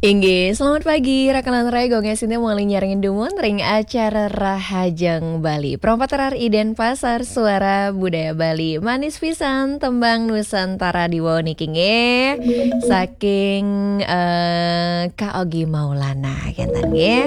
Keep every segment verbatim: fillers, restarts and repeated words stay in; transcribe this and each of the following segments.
Inggih, selamat pagi, rakan lantarai, gue Sintia mangkin nyarengin dumun ring acara Rahajeng Bali. Perompat terar iden pasar suara budaya Bali. Manis pisan tembang Nusantara di wau niki nggih. Saking eh, Kak Ogi Maulana kenten nggih.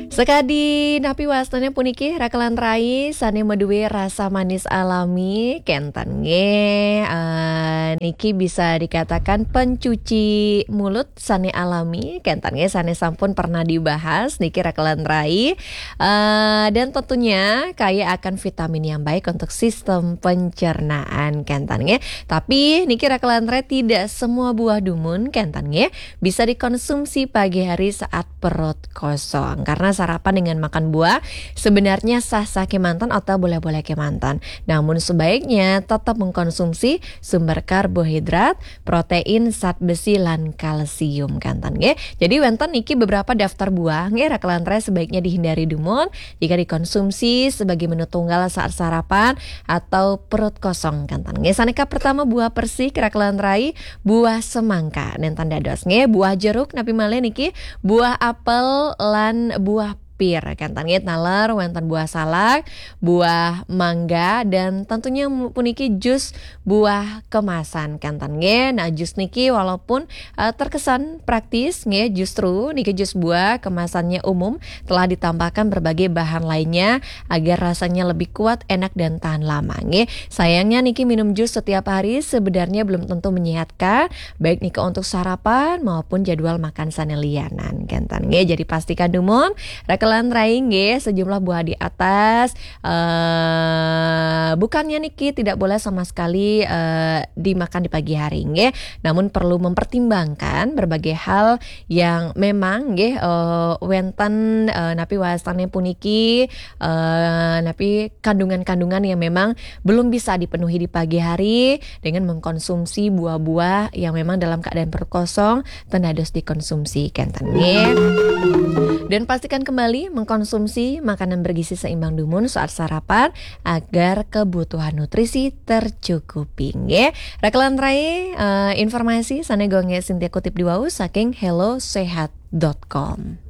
Sekadi napi wastane puniki rakan lantarai sane maduwe rasa manis alami kenten nggih. Eh, niki bisa dikatakan pencuci mulut sane alami kenten nggih, sane sampun pernah dibahas niki rakan lantarai. Eh, dan tentunya kaya akan vitamin yang baik untuk sistem pencernaan kenten nggih. Tapi niki rakan lantarai tidak semua buah dumun kenten nggih bisa dikonsumsi pagi hari saat perut kosong. Karena sarapan dengan makan buah sebenarnya sah-sah kemanten atau boleh-boleh kemanten. Namun sebaiknya tetap mengkonsumsi sumber karbohidrat, protein, zat besi, lan kalsium kenten nggih. Jadi wenten niki beberapa daftar buah nggih rakan lantarai sebaiknya dihindari dumun jika dikonsumsi sebagai menu tunggal saat sarapan atau perut kosong kenten nggih. Saneka pertama buah persik rakan lantarai, buah semangka nenten dados nggih, buah jeruk napi malih niki, buah apel lan buah pir kenten nggih. Taler wenten buah salak, buah mangga, dan tentunya puniki jus buah kemasan kenten nggih. Nah, jus niki walaupun eh, terkesan praktis nggih, justru niki jus buah kemasannya umum telah ditambahkan berbagai bahan lainnya agar rasanya lebih kuat, enak, dan tahan lama nggih. Sayangnya niki minum jus setiap hari sebenarnya belum tentu menyehatkan, baik nika untuk sarapan maupun jadwal makan sane lianan kenten nggih. Jadi pastikan dumun rakan lantarai nggih, sejumlah buah di atas eh bukannya niki tidak boleh sama sekali eh dimakan di pagi hari nggih, namun perlu mempertimbangkan berbagai hal yang memang nggih eh wenten eh napi wastane puniki eh napi kandungan-kandungan yang memang belum bisa dipenuhi di pagi hari dengan mengkonsumsi buah-buah yang memang dalam keadaan perut kosong ten dados dikonsumsi kenten nggih. Dan pastikan kembali mengkonsumsi makanan bergizi seimbang dumun saat sarapan agar kebutuhan nutrisi tercukupi nggih. Rakan lantarai eh, informasi sane gue Sintia kutip di wau saking hellosehat dot com.